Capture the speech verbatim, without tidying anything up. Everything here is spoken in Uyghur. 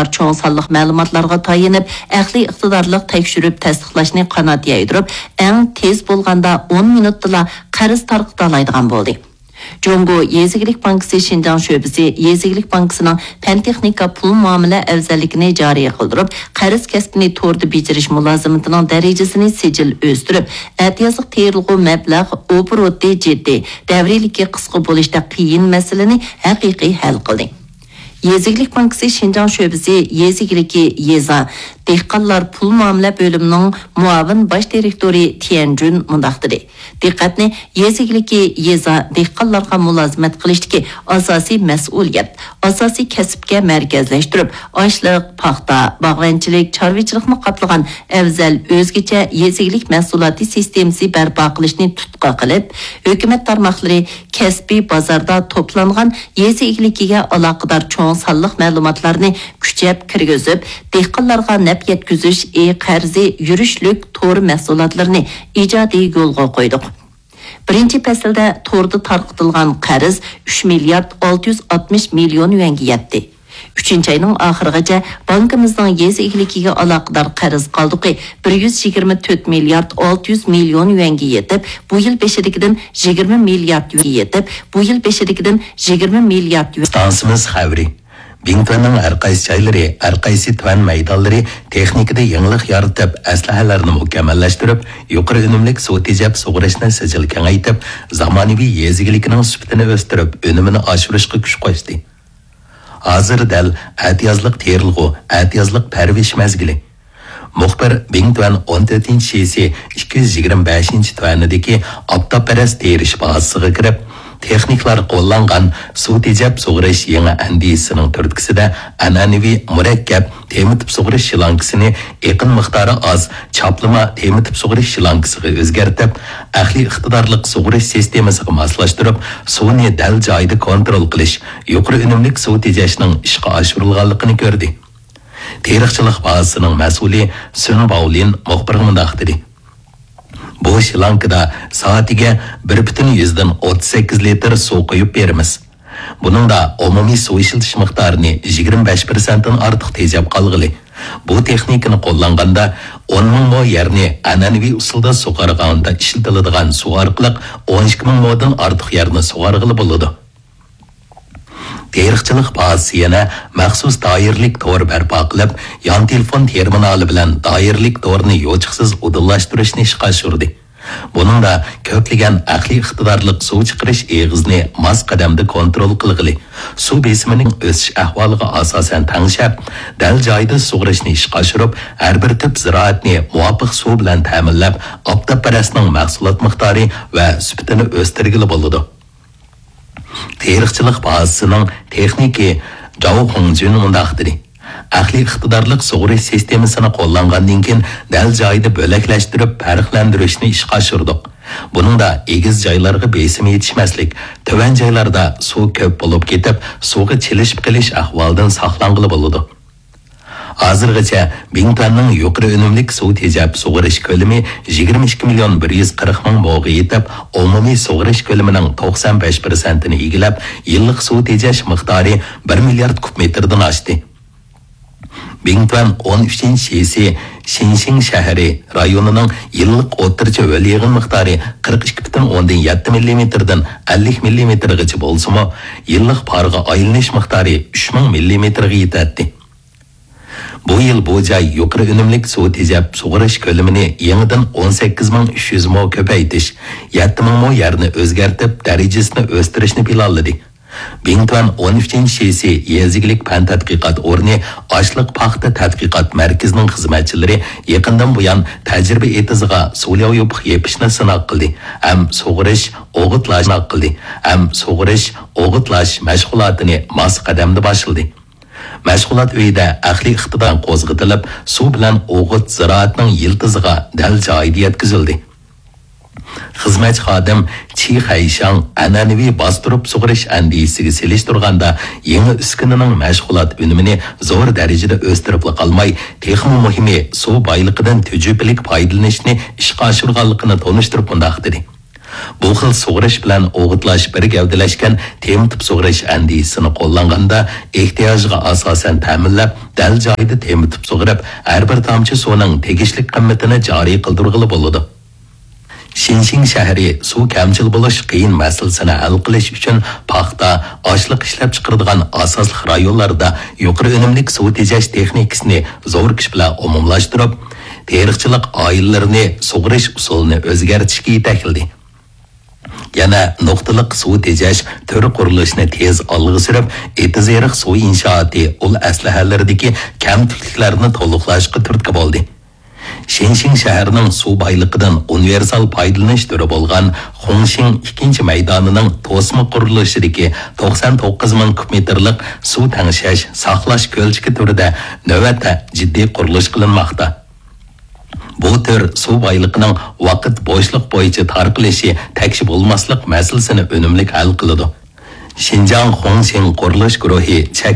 چوڭ سانلىق مەلۇماتلارغا تايىنىپ، ئەقلىي ئىقتىدارلىق تەكشۈرۈپ تەستىقلاشنى قانات يايدۇرۇپ، ئەڭ تېز بولغاندا ئون مىنۇتتىلا قەرز تارقىتالايدىغان بولدى. جۇڭگو يېزا ئىگىلىك بانكىسى شىنجاڭ شۆبىسى يېزا ئىگىلىك بانكىسىنىڭ پەن-تېخنىكا پۇل مۇئامىلە ئەۋزەللىكىنى جارى قىلدۇرۇپ، قەرز كەسپىنى توردا بېجىرىش مۇلازىمىتىنىڭ دەرىجىسىنى سىجىل ئۆستۈرۈپ، ئەتىيازلىق تېرىلغۇ مەبلەغ ئوبوروتى جىددىي، دەۋرىيلىكى قىسقا بولۇشتەك قىيىن مەسىلىنى ھەقىقىي ھەل قىلدى. يېزا ئىگىلىك بانكىسى شىنجاڭ شۆبىسى يېزا ئىگىلىكى يېزا دېھقانلار پۇل مۇئامىلە بۆلۈمىنىڭ مۇئاۋىن باش دىرېكتورى تيەن جۈن مۇنداق دېدى: دىققەتنى يېزا ئىگىلىكى يېزا دېھقانلارغا مۇلازىمەت قىلىشتىكى ئاساسىي مەسئۇلىيەت، ئاساسىي كەسىپكە مەركەزلەشتۈرۈپ، ئاشلىق، پاختا، باغۋەنچىلىك، چارۋىچىلىقنى قاپلىغان ئەۋزەل ئۆزگىچە يېزا ئىگىلىك مەھسۇلاتى سىستېمىسى بەرپا قىلىشنى تۇتقا قىلىپ، ھۆكۈمەت تارماقلىرى كەسپىي بازاردا توپلانغان يېزا ئىگىلىكىگە ئالاقىدار چوڭ سانلىق مەلۇماتلارنى كۈچەپ كىرگۈزۈپ، دېھقانلارغا نەپ يەتكۈزۈش ئى قەرزى يۈرۈشلۈك تور مەھسۇلاتلىرىنى ئىجادىي يولغا قويدۇق. بىرىنچى پەسىلدە توردا تارقىتىلغان قەرز ئۈچ مىليارد ئالتە يۈز ئاتمىش مىليون يۈەنگە يەتتى. ئۈچىنچى ئاينىڭ ئاخىرىغىچە بانكىمىزنىڭ يېزا ئىگىلىكىگە ئالاقىدار قەرز قالدۇقى بىر يۈز يىگىرمە تۆت مىليارد ئالتە يۈز مىليون يۈەنگە يېتىپ، بۇ يىل بېشىدىكىدىن يىگىرمە مىليارد يۈەنگە يېتىپ، بۇ يىل بېشىدىكىدىن يىگىرمە مىليارد يۈەن. ئىستانسىمىز خەۋىرى. بىڭتۈەننىڭ ھەر قايسى جايلىرى، ھەر قايسى تۈەن مەيدانلىرى تېخنىكىدا يېڭىلىق يارىتىپ، ئەسلىھەلەرنى مۇكەممەللەشتۈرۈپ، يۇقىرى ئۈنۈملۈك سۇ تېجەپ سۇغىرىشنى سىجىل كېڭەيتىپ، زامانىۋى يېزا ئىگىلىكىنىڭ سۈپىتىنى ئۆستۈرۈپ، ئۈنۈمىنى ئاشۇرۇشقا كۈچ قوشتى. ھازىر دەل ئەتىيازلىق تېرىلغۇ، ئەتىيازلىق پەرۋىش مەزگىلى. مۇخبىر بىڭتۈەن ئون تۆتىنچى شىسى ئىككى يۈز يىگىرمە بەشىنچى تۈەنىدىكى ئاپتاپپەرەس تېرىش بازىسىغا كىرىپ، تېخنىكلار قوللانغان سۇ تېجەپ سۇغىرىش يېڭى ئەندىزىسىنىڭ تۈرتكىسىدە ئەنئەنىۋى مۇرەككەپ تېمىتىپ سۇغىرىش شلانكىسىنى ئېقىن مىقدارى ئاز چاپلىما تېمىتىپ سۇغىرىش شلانكىسىغا ئۆزگەرتىپ، ئەقلىي ئىقتىدارلىق سۇغىرىش سىستېمىسىغا ماسلاشتۇرۇپ، سۇنى دەل جايىدا كونترول قىلىش، يۇقىرى ئۈنۈملۈك سۇ تېجەشنىڭ ئىشقا ئاشۇرۇلغانلىقىنى كۆردى. تېرىقچىلىق بازىسىنىڭ مەسئۇلى سۈن باۋلىن مۇخبىرغا مۇنداق دېدى: بۇ شلانكىدا سائىتىگە بىر پۈتۈن يۈزدىن ئوتتۇز سەككىز لىتىر سۇ قۇيۇپ بېرىمىز. بۇنىڭدا ئومۇمىي سۇ ئىشلىتىش مىقدارىنى يىگىرمە بەش پىرسەنتتىن ئارتۇق تېجەپ قالغىلى. بۇ تېخنىكىنى قوللانغاندا، ئون مىڭ مو يەرنى ئەنئەنىۋى ئۇسۇلدا سۇغارغاندا ئىشلىتىلىدىغان سۇ ئارقىلىق ئون ئىككى مىڭ مودىن ئارتۇق يەرنى سۇغارغىلى بولىدۇ. تېرىقچىلىق بازىسى يەنە مەخسۇس دائىرىلىك تور بەرپا قىلىپ، يان تېلېفون تېرمىنالى بىلەن دائىرىلىك تورنى يوچۇقسىز ئۇدۇللاشتۇرۇشنى ئىشقا ئاشۇردى. بۇنىڭدا كۆپلىگەن ئەقلىي ئىقتىدارلىق سۇ چىقىرىش ئېغىزىنى ماس قەدەمدە كونترول قىلغىلى، سۇ بېسىمىنىڭ ئۆسۈش ئەھۋالىغا ئاساسەن تەڭشەپ، دەل جايىدا سۇغىرىشنى ئىشقا ئاشۇرۇپ، ھەر بىر تۈپ زىرائەتنى مۇۋاپىق سۇ بىلەن تەمىنلەپ، ئاپتاپپەرەسنىڭ مەھسۇلات مىقدارى ۋە سۈپىتىنى ئۆستۈرگىلى بولىدۇ. تېرىقچىلىق بازىسىنىڭ تېخنىكى جاۋ خۇڭجۈن مۇنداق دېدى: ئەقلىي ئىقتىدارلىق سۇغىرىش سىستېمىسىنى قوللانغاندىن كېيىن، دەل جايىدا بۆلەكلەشتۈرۈپ پەرقلەندۈرۈشنى ئىشقا ئاشۇردۇق. بۇنىڭدا ئېگىز جايلارغا بېسىم يېتىشمەسلىك، تۆۋەن جايلاردا سۇ كۆپ بولۇپ كېتىپ، سۇغا چىلىشىپ قېلىش ئەھۋالىدىن ساقلانغىلى بولىدۇ. ھازىرغىچە بىڭتۈەننىڭ يۇقىرى ئۈنۈملۈك سۇ تېجەپ سۇغىرىش كۆلىمى يىگىرمە ئىككى مىليون بىر يۈز قىرىق مىڭ موغا يېتىپ، ئومۇمىي سۇغىرىش كۆلىمىنىڭ توقسان بەش پىرسەنتىنى ئىگىلەپ، يىللىق سۇ تېجەش مىقدارى بىر مىليارد كۇب مېتىردىن ئاشتى. بىڭتۈەن ئون ئۈچىنچى شىسى شىنشىڭ شەھىرى رايونىنىڭ يىللىق ئوتتۇرىچە ھۆل يېغىن مىقدارى قىرىق ئىككى پۈتۈن ئوندىن يەتتە مىللىمېتىردىن ئەللىك مىللىمېتىرغىچە بولسىمۇ، يىللىق پارغا ئايلىنىش مىقدارى ئۈچ مىڭ مىللىمېتىرغا يېتەتتى. بۇ يىل بۇ جاي يۇقىرى ئۈنۈملۈك سۇ تېجەپ سۇغىرىش كۆلىمىنى يېڭىدىن ئون سەككىز مىڭ ئۈچ يۈز مو كۆپەيتىش، يەتتە مىڭ مو يەرنى ئۆزگەرتىپ، دەرىجىسىنى ئۆستۈرۈشنى پىلانلىدى. بىڭتۈەن ئون ئۈچىنچى شىسى يېزا ئىگىلىك پەن تەتقىقات ئورنى ئاشلىق پاختا تەتقىقات مەركىزىنىڭ خىزمەتچىلىرى يېقىندىن بۇيان تەجرىبە ئېتىزىغا سۇ لياۋيۇپۇق يېپىشنى سىناق قىلدى ھەم سۇغىرىش، ئوغۇتلاش سىناق قىلدى ھەم سۇغىرىش، ئوغۇتلاش مەشغۇلاتىنى ماس قەدەمدە باشلىدى. مەشغۇلات ئۆيىدە ئەقلىي ئىقتىدار قوزغىتىلىپ، سۇ بىلەن ئوغۇت زىرائەتنىڭ يىلتىزىغا دەل جايىدا يەتكۈزۈلدى. خىزمەتچى خادىم چى خەيشاڭ ئەنئەنىۋى باستۇرۇپ سۇغىرىش ئەندىزىسىگە سېلىشتۇرغاندا، يېڭى ئۈسكۈنىنىڭ مەشغۇلات ئۈنۈمىنى زور دەرىجىدە ئۆستۈرۈپلا قالماي، تېخىمۇ مۇھىمى، سۇ بايلىقىدىن تۈجۈپىلىك پايدىلىنىشنى ئىشقا ئاشۇرغانلىقىنى تونۇشتۇرۇپ مۇنداق دېدى: بۇ خىل سۇغىرىش بىلەن ئوغۇتلاش بىر گەۋدىلەشكەن تېمىتىپ سۇغىرىش ئەندىزىسىنى قوللانغاندا، ئېھتىياجىغا ئاساسەن تەمىنلەپ، دەل جايىدا تېمىتىپ سۇغىرىپ، ھەر بىر تامچە سۇنىڭ تېگىشلىك قىممىتىنى جارى قىلدۇرغىلى بولىدۇ. شىنشىڭ شەھىرى سۇ كەمچىل بولۇش قىيىن مەسىلىسىنى ھەل قىلىش ئۈچۈن پاختا، ئاشلىق ئىشلەپچىقىرىدىغان ئاساسلىق رايونلاردا يۇقىرى ئۈنۈملۈك سۇ تېجەش تېخنىكىسىنى زور كۈچ بىلەن ئومۇملاشتۇرۇپ، تېرىقچىلىق ئائىلىلىرىنى سۇغىرىش ئۇسۇلىنى ئۆزگەرتىشكە يېتەكلىدى. يەنە نۇقتىلىق سۇ تېجەش تۈر قۇرۇلۇشىنى تېز ئالغا سۈرۈپ، ئېتىز-ئېرىق سۇ ئىنشائاتى ئۇل ئەسلىھەلىرىدىكى كەمتۈكلۈكلەرنى تولۇقلاشقا تۈرتكە بولدى. شىنشىڭ شەھىرىنىڭ سۇ بايلىقىدىن ئۇنىۋېرسال پايدىلىنىش تۈرى بولغان خۇڭشىڭ ئىككىنچى مەيدانىنىڭ توسما قۇرۇلۇشىدىكى توقسان توققۇز مىڭ كۇب مېتىرلىق سۇ تەڭشەش، ساقلاش كۆلچىكى تۈرىدە نۆۋەتتە جىددىي قۇرۇلۇش قىلىنماقتا. بۇ تۈر سۇ بايلىقىنىڭ ۋاقىت بوشلۇق بويىچە تارقىلىشى، تەكشى بولماسلىق مەسىلىسىنى ئۈنۈملۈك ھەل قىلىدۇ. شىنجاڭ خۇڭشىڭ قۇرۇلۇش گۇرۇھى چەك